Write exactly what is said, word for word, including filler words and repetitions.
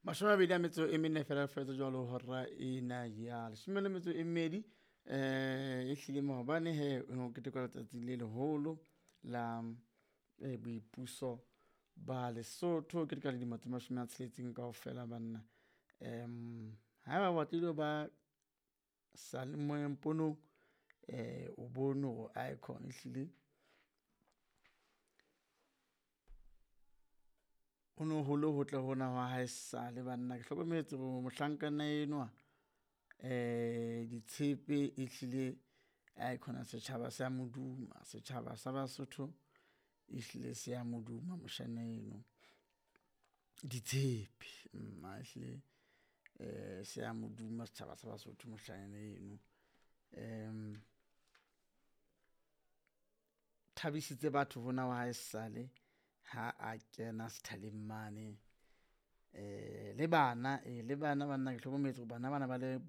Mashome a mabedi a metso e mene fela fetsa jwalo hora ena ya leshome le metso e mmedi. Eh ehlile maobane he ho no ketekwa letsatsi le leholo la eh, boipuso ba Lesotho. Keteka le dilemo tse mashome a tsheletseng kaofela banna. Um haeba o batlile ho ba seyalemoyeng ponong eh o bone hore icon ehlile ho no hole hotle hona hwa haesale banna. Ke hlokometse hore mohlankana enwa eh ditshepe ehlile aekhona setjhaba se a mo duma, setjhaba sa Basotho ehlile se a mo duma moshana eno. Ditshepe ehlile eh se a mo duma setjhaba sa Basotho moshanyana eno. Um Thabisitse batho hona wa haesale ha a kena sethaleng mane, eh le bana le bana banna ke hlokometse hore bana bana ba le.